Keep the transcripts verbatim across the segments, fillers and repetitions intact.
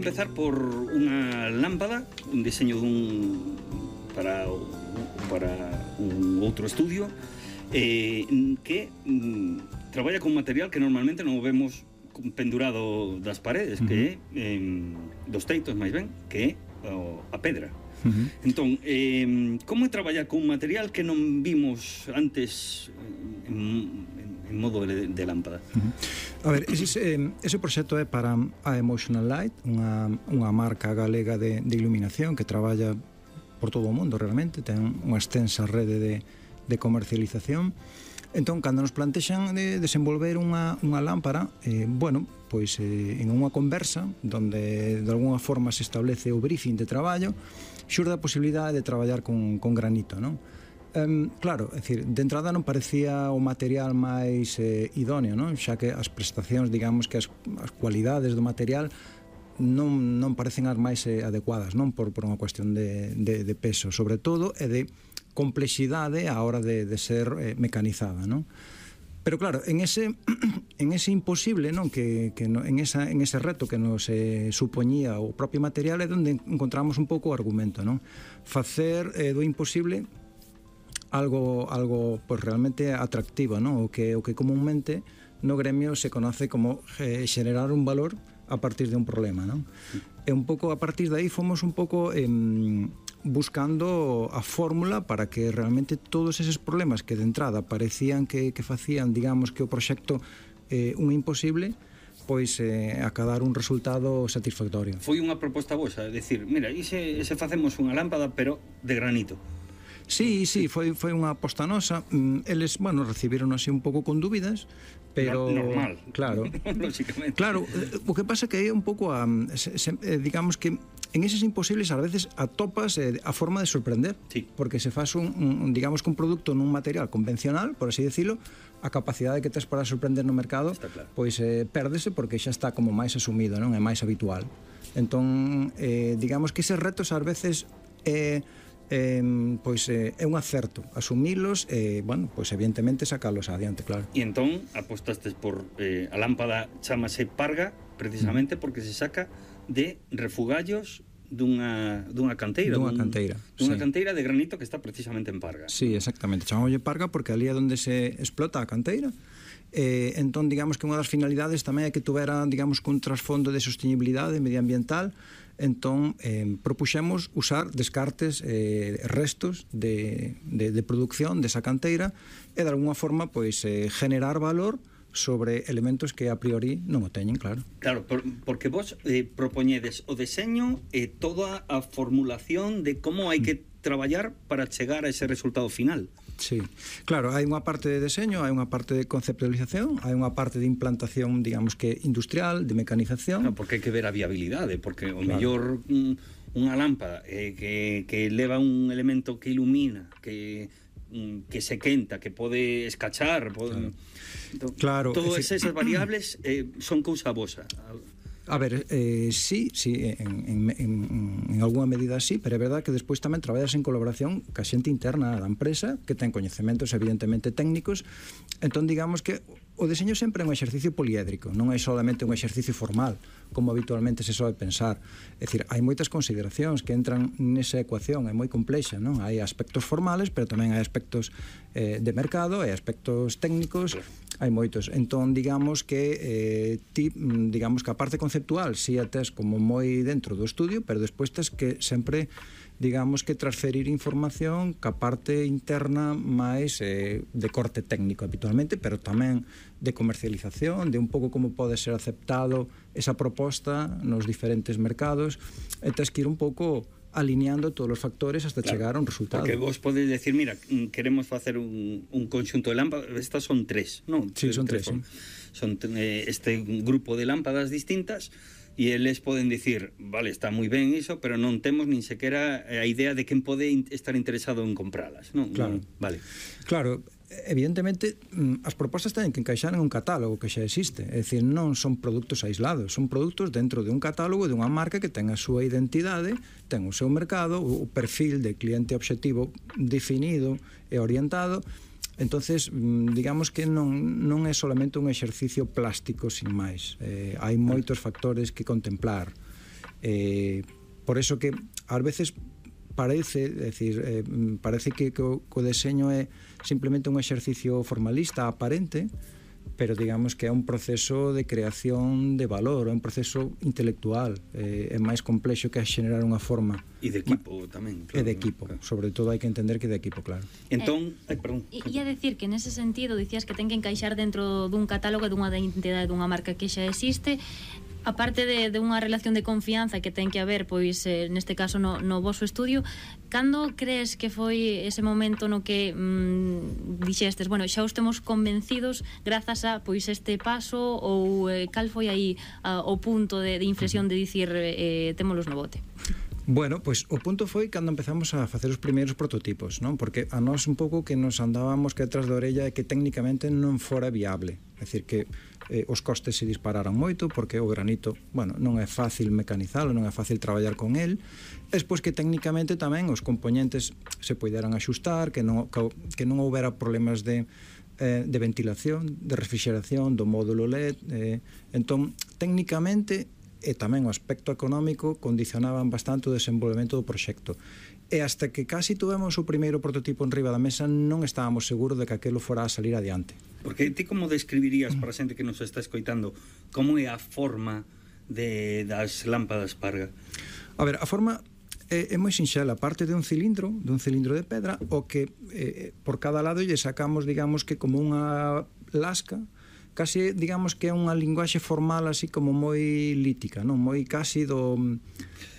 empezar por unha lámpada, un diseño dun para para un outro estudio eh, que mm, traballa con material que normalmente non o vemos pendurado das paredes, uh-huh. que é eh, dos teitos máis ben, que é o, a pedra. Uh-huh. Entón, eh, como é traballar con un material que non vimos antes en, en modo de, de lámpada? Uh-huh. A ver, ese, ese proxecto é para a Emotional Light, unha, unha marca galega de, de iluminación que traballa por todo o mundo realmente, ten unha extensa rede de, de comercialización. Entón, cando nos plantexan de desenvolver unha, unha lámpara, eh, bueno, pois eh, en unha conversa donde de alguna forma se establece o briefing de traballo, xurde a posibilidade de traballar con, con granito, non? Um, claro, é dicir, de entrada non parecía o material máis eh, idóneo, non? Xa que as prestacións, digamos que as, as cualidades do material non, non parecen as máis eh, adecuadas, non? Por, por unha cuestión de, de, de peso, sobre todo, e de complexidade a hora de, de ser eh, mecanizada, non? Pero claro, en ese en ese imposible, non, que, que no, en esa en ese reto que nos eh, supoñía o propio material é onde encontramos un pouco o argumento, non? Facer eh, do imposible algo algo pues realmente atractivo, non? O que o que comúnmente no gremio se conoce como eh, xenerar un valor a partir de un problema, non? E un pouco a partir de aí fomos un pouco eh, buscando a fórmula para que realmente todos eses problemas que de entrada parecían que, que facían, digamos, que o proxecto eh, un imposible, pois eh, acadar un resultado satisfactorio. Foi unha proposta vosa, é dicir, mira, e se, se facemos unha lámpada pero de granito? Sí, sí, foi, foi unha aposta nosa. Eles, bueno, recibiron así un pouco con dúbidas, pero... Normal. Claro. Lógicamente. Claro, o que pasa que é un pouco a, se, se, digamos que en eses imposibles a veces atopas eh, a forma de sorprender, sí. Porque se faz un, un, digamos que un produto nun material convencional, por así decirlo, a capacidade que tes para sorprender no mercado, claro. Pois eh, pérdese porque xa está como máis asumido, non? É máis habitual. Entón, eh, digamos que eses retos ás veces eh, Eh, pois eh, é un acerto asumilos e, eh, bueno, pois evidentemente sacalos adiante, claro. E entón apostastes por eh, a lámpada chamase Parga precisamente mm. porque se saca de refugallos dunha, dunha canteira dunha dun, canteira dunha sí. canteira de granito que está precisamente en Parga. Sí, exactamente, chamámoslle Parga porque ali é onde se explota a canteira. Eh, entón, digamos que unha das finalidades tamén é que tuvera, digamos, un trasfondo de sostenibilidade medioambiental. Entón, eh, propuxemos usar descartes, eh, restos de, de, de producción desa canteira e, de alguna forma, pois, eh, generar valor sobre elementos que a priori non o teñen, claro. Claro, por, porque vos eh, propoñedes o deseño e eh, toda a formulación de como hai que traballar para chegar a ese resultado final. Sí, claro, hai unha parte de deseño, hai unha parte de conceptualización, hai unha parte de implantación, digamos que industrial, de mecanización. Claro, porque hai que ver a viabilidade, porque o claro. mellor mm, unha lámpada eh, que, que leva un elemento que ilumina, que que se quenta, que pode escachar, pode... Claro. Todas esas variables eh, son cousa vosa. A ver, eh, sí, sí, en, en, en, en alguna medida sí, pero é verdad que despois tamén traballas en colaboración ca xente interna da empresa, que ten coñecementos evidentemente técnicos. Entón, digamos que o deseño sempre é un exercicio poliédrico, non é solamente un exercicio formal, como habitualmente se soe pensar. É dicir, hai moitas consideracións que entran nesa ecuación, é moi complexa, non? Hai aspectos formales, pero tamén hai aspectos eh, de mercado, hai aspectos técnicos, hai moitos. Entón, digamos que eh, ti, digamos que a parte conceptual si a tes como moi dentro do estudio, pero despois tes que sempre, digamos que transferir información ca parte interna máis eh, de corte técnico habitualmente, pero tamén de comercialización, de un pouco como pode ser aceptado esa proposta nos diferentes mercados, e tes que ir un pouco alineando todos os factores hasta claro, chegar a un resultado. Porque vos podedes decir, mira, queremos facer un, un conxunto de lámpadas, estas son tres, non? Sí, son tres, tres sí. Son eh, este grupo de lámpadas distintas e eles poden dicir, vale, está moi ben iso, pero non temos nin sequera a idea de quen pode estar interesado en compralas, non? Claro. Vale. Claro, evidentemente as propostas teñen que encaixar en un catálogo que xa existe, é dicir, non son produtos aislados, son produtos dentro de un catálogo de unha marca que ten a súa identidade, ten o seu mercado, o perfil de cliente obxectivo definido e orientado. Entonces, digamos que non, non é solamente un exercicio plástico sin máis, eh, hai moitos factores que contemplar. Eh, por eso que ás veces parece, é dicir, eh, parece que, que, o, que o deseño é simplemente un exercicio formalista aparente, pero digamos que é un proceso de creación de valor, é un proceso intelectual, eh, é máis complexo que xenerar unha forma. E de equipo tamén, É claro. de equipo, claro. Sobre todo hai que entender que é de equipo, claro. Entón, eh, ai, perdón. E a decir que nese sentido dicías que ten que encaixar dentro dun catálogo dunha identidade dunha marca que xa existe. Aparte de, de unha relación de confianza que ten que haber, pois, eh, neste caso no, no voso estudio, cando crees que foi ese momento no que mm, dixestes, bueno, xa os temos convencidos grazas a, pois, este paso, ou eh, cal foi aí a, o punto de, de inflexión de dicir eh, témolos no bote? Bueno, pois o punto foi cando empezamos a facer os primeiros prototipos, non? Porque a nós un pouco que nos andábamos que detrás da orella é que técnicamente non fora viable. É dicir, que eh, os costes se dispararan moito porque o granito, bueno, non é fácil mecanizalo, non é fácil traballar con el. Despois que técnicamente tamén os componentes se poideran axustar, que non, que non houbera problemas de eh, de ventilación, de refrigeración do módulo L E D. Eh, entón, técnicamente e tamén o aspecto económico condicionaban bastante o desenvolvemento do proxecto. E hasta que casi tuvemos o primeiro prototipo en riba da mesa non estábamos seguros de que aquilo fora a salir adiante. Porque ti como describirías para a xente que nos está escoitando como é a forma de, das lámpadas Parga? A ver, a forma é, é moi sinxela, parte de un cilindro, de un cilindro de pedra, o que eh, por cada lado lle sacamos, digamos que como unha lasca, casi, digamos que é unha linguaxe formal así como moi lítica, non? Moi casi do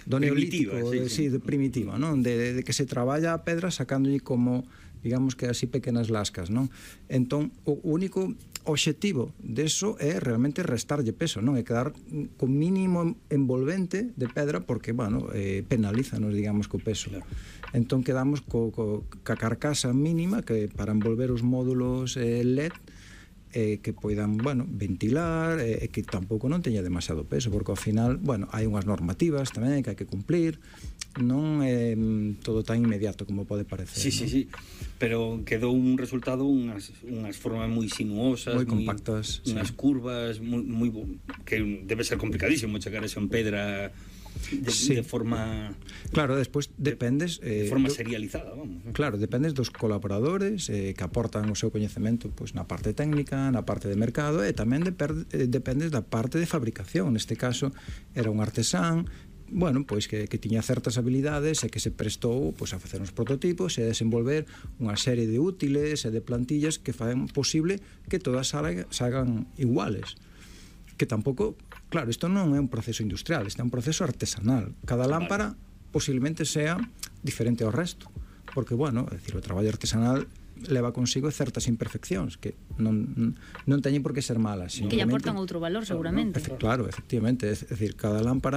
do neolítico, sí, sí. Sí, de primitiva, non? De, de que se traballa a pedra sacándolle como, digamos que así pequenas lascas, non? Entón, o único obxectivo deso é realmente restarlle peso, non? É quedar con mínimo envolvente de pedra porque, bueno, eh, penalízanos, digamos, co peso. Claro. Entón quedamos co, co, ca carcasa mínima que para envolver os módulos eh, L E D eh, que poidan, bueno, ventilar e eh, que tampouco non teña demasiado peso, porque ao final, bueno, hai unhas normativas tamén que hai que cumplir, non é eh, todo tan inmediato como pode parecer. Sí, sí, sí, pero quedou un resultado, unhas, unhas formas moi sinuosas, moi compactas, unhas sí. curvas moi, moi, que debe ser complicadísimo chegar a esa pedra de, sí. de forma... Claro, despois dependes... De, de forma eh, serializada, vamos. ¿No? Claro, dependes dos colaboradores eh, que aportan o seu coñecemento pois, na parte técnica, na parte de mercado, e tamén de per, eh, dependes da parte de fabricación. Neste caso, era un artesán, bueno, pois que, que tiña certas habilidades e que se prestou pois, a facer uns prototipos e a desenvolver unha serie de útiles e de plantillas que fan posible que todas salgan, salgan iguales. Que tampouco... Claro, isto non é un proceso industrial, isto é un proceso artesanal. Cada lámpara posiblemente sea diferente ao resto, porque, bueno, é dicir, o traballo artesanal leva consigo certas imperfeccións que non, non teñen por que ser malas. Que lle aportan outro valor, seguramente. Claro, efectivamente, é dicir, cada lámpara